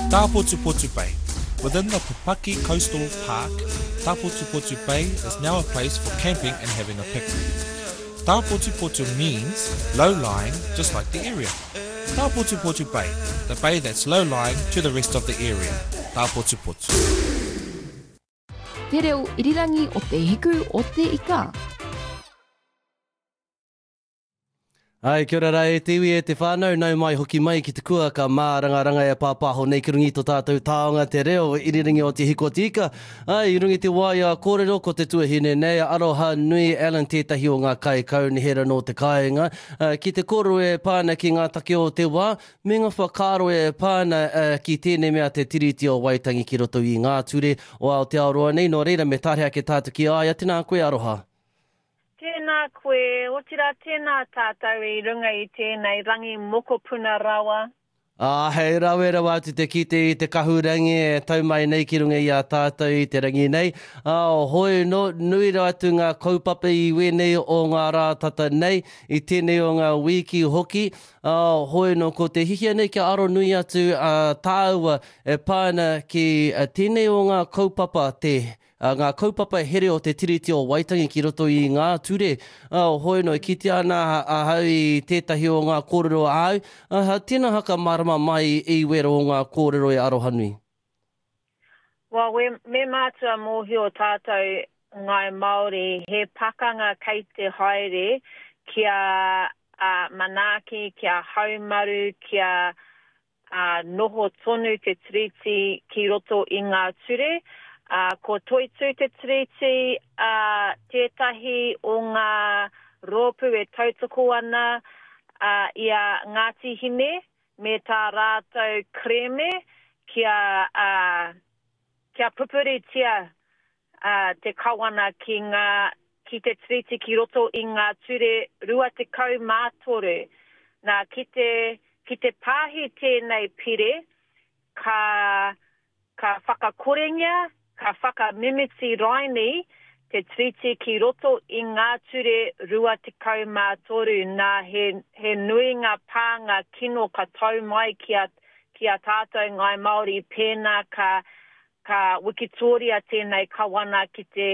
Tāpotupotu Bay. Within the Pupaki Coastal Park, Tāpotupotu Bay is now a place for camping and having a picnic. Tāpotupotu means low-lying, just like the area. Tāpotupotu Bay, the bay that's low-lying to the rest of the area. Tāpotupotu. Te reo irirangi o Te Hiku o Te Ika. Ai, kia ora rā e te iwi e te whānau, nau mai hoki mai ki te kua ka mārangaranga e pāpāho nei ki runga i to tātou taonga te reo irirangi o Te Hiku o Te Ika. Ai, i runga i te waea kōrero ko te tuahine nei a Aroha Nui Allen tētahi o ngā kaikaunihera nō te kāinga ki te kōrero e pā ana ki ngā take o te wā me ngā whakaaro e pā ana ki tēnei mea te Tiriti o Waitangi ki roto i ngā ture o Aotearoa nei, nō reira me tare ake tātou ki a ia, tēnā koe Aroha. Tēnā koe, otirā tēnā tātou i runga i tēnei rangi mokopuna rawa. Ā, hei rawe rawa atu te kite i te kahurangi e tau mai nei ki runga i a tātou i te rangi nei. Ā, hoi nō, nui rawa atu ngā kaupapa i wēnei o ngā rā tata nei, i tēnei o ngā wīki hoki. Ā, hoi nō, ko te hihia nei kia aro nui atu a tāua e pā ana ki tēnei o ngā kaupapa, te ngā kaupapa here o te Tiriti o Waitangi ki roto i ngā ture. Hoi anō, e kitea ana ahau i tētahi o ngā kōrero āu, tēnā haka mārama mai i wera o ngā kōrero e Arohanui. Well, we, me mātua mōhio tātou Ngāi Māori he pakanga kei te haere kia manaaki, kia haumaru, kia ā, noho tonu te Tiriti ki roto i ngā ture, ā, ko Toitū te Tiriti, ā, tētahi o ngā rōpū e tautoko ana, ā, i a Ngāti Hine me tā rātou kerēme kia, ā, kia pupuritia, ā, te Kawana ki ngā, ki te Tiriti ki roto i ngā ture 23. Nā, ki te, ki te pāhi tēnei pire, ka, ka whakakorengia, ka whakamimiti raini te Tiriti ki roto i ngā ture 23. Nā, he, he nui ngā pānga kino ka tau mai ki a, ki a tātou Ngāi Māori pēnā ka, Ka wikitōria tēnei kawana ki te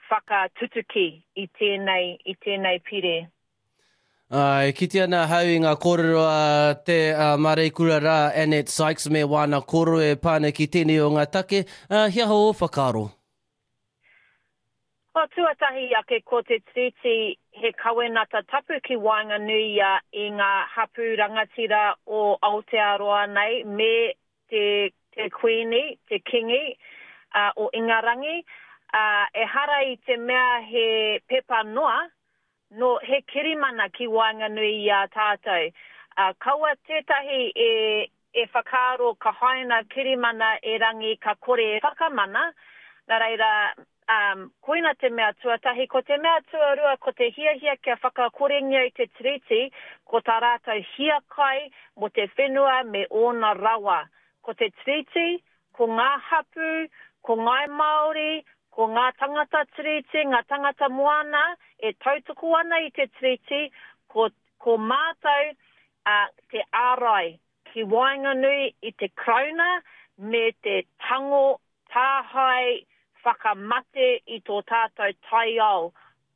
whakatutuki i tēnei, i tēnei pire. Ā, e kite ana ahau i ngā kōrero a te māreikura rā, Annette Sykes, me wāna kōrero e pā ana ki tēnei o ngā take. Ā, he aha ō whakaaro? Ko tuatahi ake ko te Tiriti he kawenata tapu ki waenganui ia i ngā hapū rangatira o Aotearoa nei me te te Kuini, te Kingi, o Ingarangi, ā, ehara i te mea he pepa noa, Nō, he kirimana ki waenganui i a tātou. Ā, kaua tētahi e, e whakaaro ka haina kirimana erangi ka kore e whakamana, nā reira, ā, koina te mea tuatahi. Ko te mea tuarua, ko te hiahia kia whakakorengia i te Tiriti, ko tā rātou hiakai mō te whenua me ōna rawa. Ko te Tiriti, Ko ngā hapū, ko Ngāi Māori, ko ngā tangata Tiriti, ngā tangata moana e tautoko ana i te Tiriti, ko, ko mātou a, te ārai ki waenganui i te Karauna me te tango tāhae whakamate i tō tātou taiao.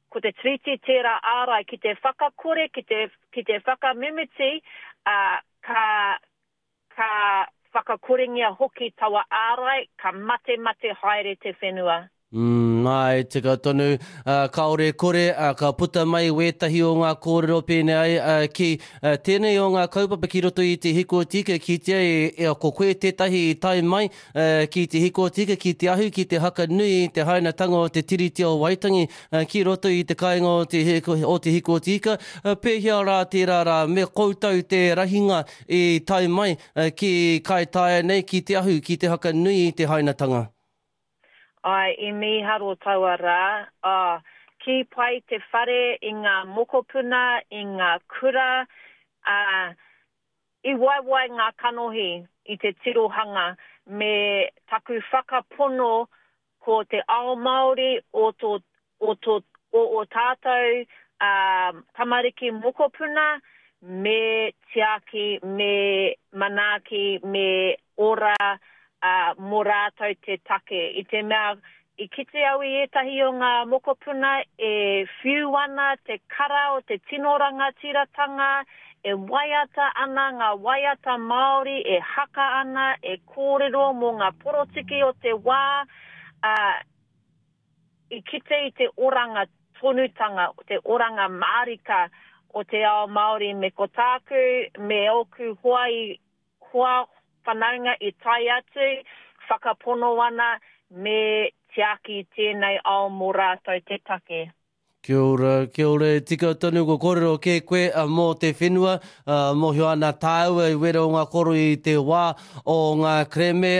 Ko te Tiriti tērā ārai ki te whakakore, ki te, ki te whakamimiti, ā, ka, Ka whakakorengia hoki taua ārai, ka matemate haere te whenua. Mm, āe, tika tonu. Ā, kāore e kore, ā, ka puta mai wētahi o ngā kōrero pēnei ai, ā, ki, ā, tēnei o ngā kaupapa ki roto i te hikotika, kitea e, e, ko koe tētahi i tae mai, ā, ki te hikotika, ki te ahu, ki te haka nui i te hainatanga o te Tiriti o Waitangi, ā, ki roto i te kāinga o te, o te hikotika. Ā, pēhea rā tērā rā, me koutou te rahinga I tae mai ki Kaitaia nei, ki Te Ahu, ki te whakanui i te hainatanga. Ae, i mīharo taua rā, ā, kī pai te whare i ngā mokopuna, i ngā kura, ā, i waiwai ngā kanohi i te tirohanga me taku whakapono ko te ao Māori o tō, o tō, o ō tātou, ā, tamariki mokopuna. me tiaki, me manaaki, me ora mō rātou te take. I te mea, i kite au i ētahi o ngā mokopuna e whiu ana te kara o te tino rangatiratanga, e waiata ana ngā waiata Māori, e haka ana, e kōrero mō ngā porotiki o te wā, ā, i kite i te oranga tonutanga, te oranga mārika o te ao Māori me ko tāku me ōku hoa i hoa whanaunga i tae atu, whakapono ana me tiaki tēnei ao mō rātou te take. Kia ora, kia ora, e tika tonu ko kōrero kē koe mō te whenua, mōhio ana tāua i wera o ngā koro i te wā o ngā kerēme,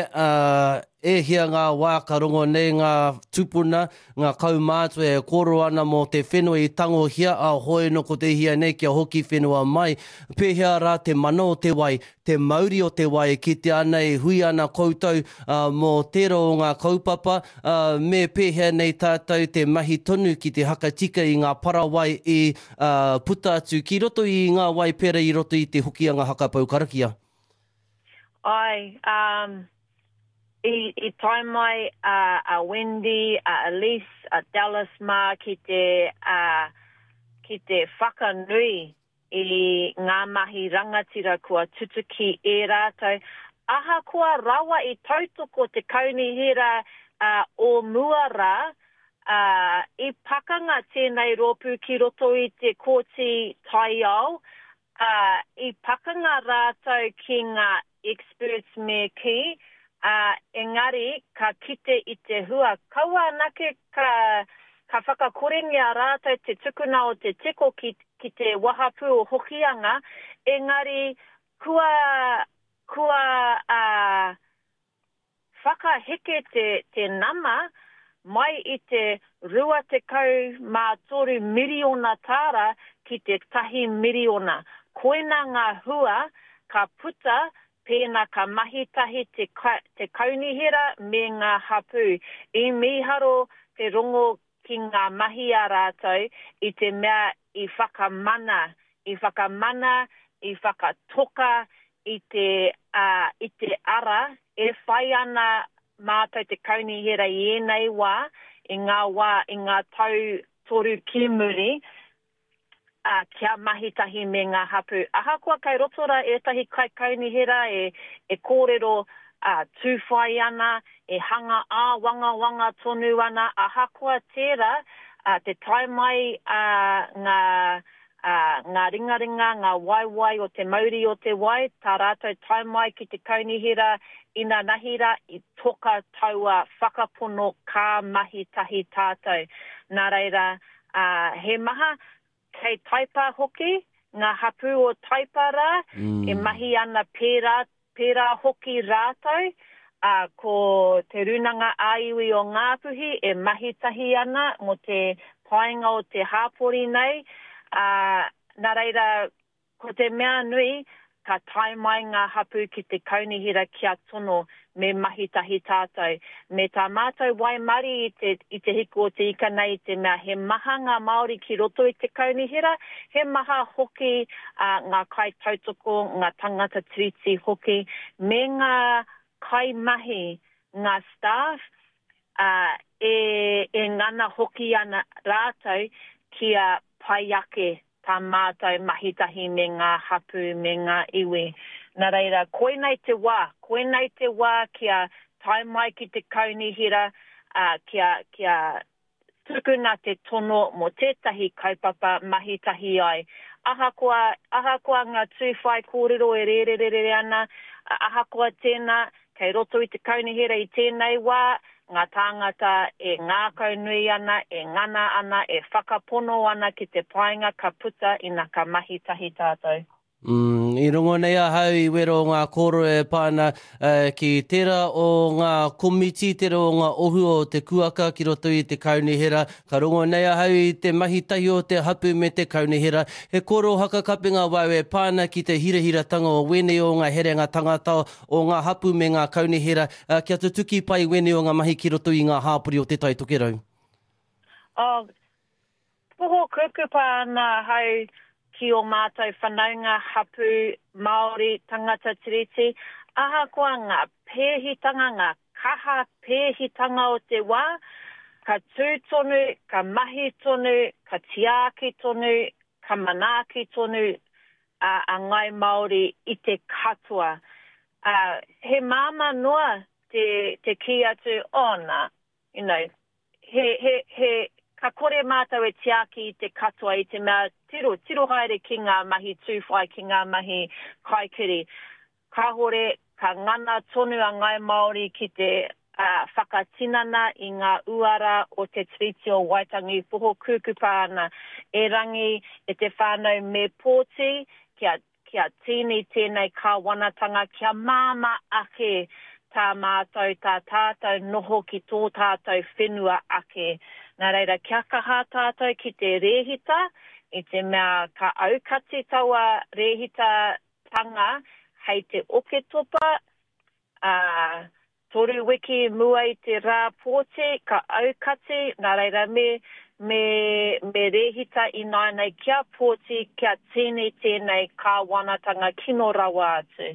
e hia ngā wā ka rongo nei ngā tupuna, ngā kaumātua e kōrero ana mō te whenua i tangohia, ā, hoi nō ko te hia nei kia hoki whenua mai. Pēhea rā te mana o te wai, te mauri o te wai e kitea ana e hui ana koutou mō tērā o ngā kaupapa, me pēhea nei tātou te mahi tonu ki te hakatika i ngā parawai i puta atu ki roto i ngā wai pērā i roto i te Hokianga Haka Pou Karakia? Āe, i tae mai a Wendy, a Elise, a Dallas mā ki te, ki te whakanui i ngā mahi rangatira kua tutuki e rātou, ahakoa rawa i tautoko te kaunihera o mua rā, ā, i pakanga tēnei rōpū ki roto i te Kōti Taiao, ā, i pakanga rātou ki ngā experts me kī, ā, engari ka kite i te hua, kaua anake ka, ka whakakorengia rātou te tukuna o te teko ki, ki te wahapū o Hokianga, engari kua, kua, ā, whakaheke te, te nama mai i te 23 miriona tāra ki te tahi miriona. Koina ngā hua ka puta pēnā ka mahi tahi te, te kaunihera me ngā hapū. I mīharo te rongo ki ngā mahi a rātou i te mea i whakamana, i whakamana, i whakatoka i te, ā, i te ara e whai ana mātou te kaunihera i ēnei wā, i ngā wā, i ngā tau toru ki muri, ā, kia mahi tahi me ngā hapū. Ahakoa kei roto rā ētahi kaikaunihera e, e kōrero, ā, tūwhai ana, e hanga āwangawanga tonu ana, ahakoa tērā, ā, te tae mai a ngā, ā, ngā ringaringa, ngā waewae o te mauri o te wai, tā rātou tae mai ki te kaunihera inanahi rā, i toka taua whakapono ka mahi tahi tātou. Nā reira, ā, he maha, kei Taipa hoki, ngā hapū o Taipa rā, e mahi ana pērā, pērā hoki rātou, ā, ko Te Rūnanga ā-Iwi o Ngāpuhi e mahi tahi ana mō te painga o te hāpori nei, ā, nā reira, Ko te mea nui, ka tae mai ngā hapū ki te kaunihera kia tono me mahi tahi tātou. Me tā mātou waimarie i te, i te hiku o te ika nei i te mea he maha ngā Māori ki roto i te kaunihera, he maha hoki ngā kaitautoko, ngā tangata tiriti hoki, me ngā kaimahi, ngā staff, ā, e, e ngana hoki ana rātou kia pai ake tā mātou mahi tahi me ngā hapū, me ngā iwi. Nā reira, koinei te wā, koinei te wā kia tae mai ki te kaunihera, ā, kia, kia tukuna te tono mō tētahi kaupapa mahi tahi ai. Ahakoa, ahakoa ngā tū whaikōrero e rērerere ana, ahakoa tēnā, Kei roto i te kaunihera i tēnei wā, ngā tāngata e ngākaunui ana, e ngana ana, e whakapono ana ki te painga ka puta ina ka mahi tahi tātou. Mm, i rongo nei ahau i wero o ngā kōrero e pā ana ki tērā o ngā komiti, tērā o ngā ohu o te kuaka ki roto i te kaunihera. Ka rongo nei ahau i te mahi tahi o te hapu me te kaunihera. He kōrero hakakapenga wau e pā ana ki te hirahiratanga o wēnei o ngā herenga tangata o ngā hapū me ngā kaunihera kia tutuki pai wēnei o ngā mahi ki roto i ngā hāpori o Te Tai Tokerau. Oh, poho kukupa ana ahau ki ō mātou whanaunga, hapū, Māori, tangata Tiriti, ahakoa ngā pēhitanga, ngā kaha pēhitanga o te wā, ka tū tonu, ka mahi tonu, ka tiaki tonu, ka manaaki tonu a Ngāi Māori i te katoa. Ā, he māmā noa te, te kī atu, oh nā, you know, he, he, he, ka kore mātou e tiaki i te katoa i te mea tiro, tiro haere ki ngā mahi tūwhai, ki ngā mahi kaikiri. Kāhore, ka ngana tonu a Ngāi Māori ki te whakatinana i ngā uara o Te Tiriti o Waitangi poho kūkupa ana. Erangi, e te whānau me pōti kia, kia tīni tēnei kāwanatanga kia māmā ake tā mātou, tā tātou noho ki tō tātou whenua ake. Nā reira, kia kaha tātou ki te rēhita, i te mea ka aukati taua rēhitatanga hei te Oketopa, ā, toru wiki mua i te rā pōti, ka aukati, nā reira me, me, me rēhita ināianei kia pōti, kia tīni tēnei kāwanatanga kino rawa atu.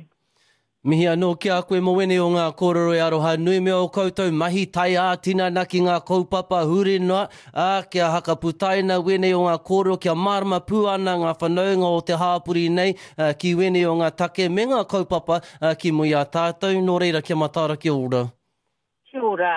Mihi anō ki a koe mō wēnei o ngā kōrero e aroha nui me ō koutou mahi tae ā-tinana ki ngā kaupapa huri noa, ā, kia hakaputaina wēnei o ngā kōrero kia mārama pū ana ngā whanaunga o te hāpori nei ki wēnei o ngā take me ngā kaupapa ki mua i a tātou, nō reira kia mataara kia ora. Kia ora.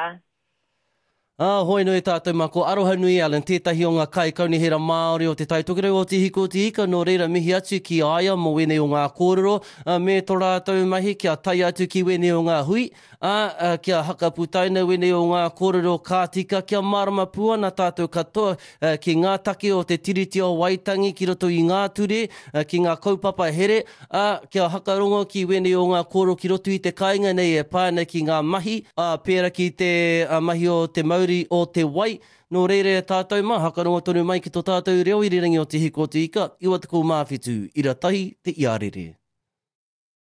Ā, hoi nui tātou mā, ko Arohanui Allen tētahi o ngā kaikaunihera Māori o Te Tai Tokerau o Te Hiku o Te Ika, nō reira mihi atu ki a ia mō wēnei o ngā kōrero, ā, me tō rātou mahi kia tae atu ki wēnei o ngā hui, ā, kia hakaputaina wēnei o ngā kōrero ka tika, kia mārama pū ana tātou katoa ki ngā take o Te Tiriti o Waitangi ki roto i ngā ture, ki ngā kaupapa here, ā, kia hakarongo ki wēnei o ngā kōrero ki roto i te kāinga nei e pā ana ki ngā mahi, ā, pērā ki te mahi o te mauri o te wai. Nō reira e tātou mā, hakarongo tonu mai ki tō tātou reo irirangi o Te Hiko o Te Ika, 97, ira tahi te iarere.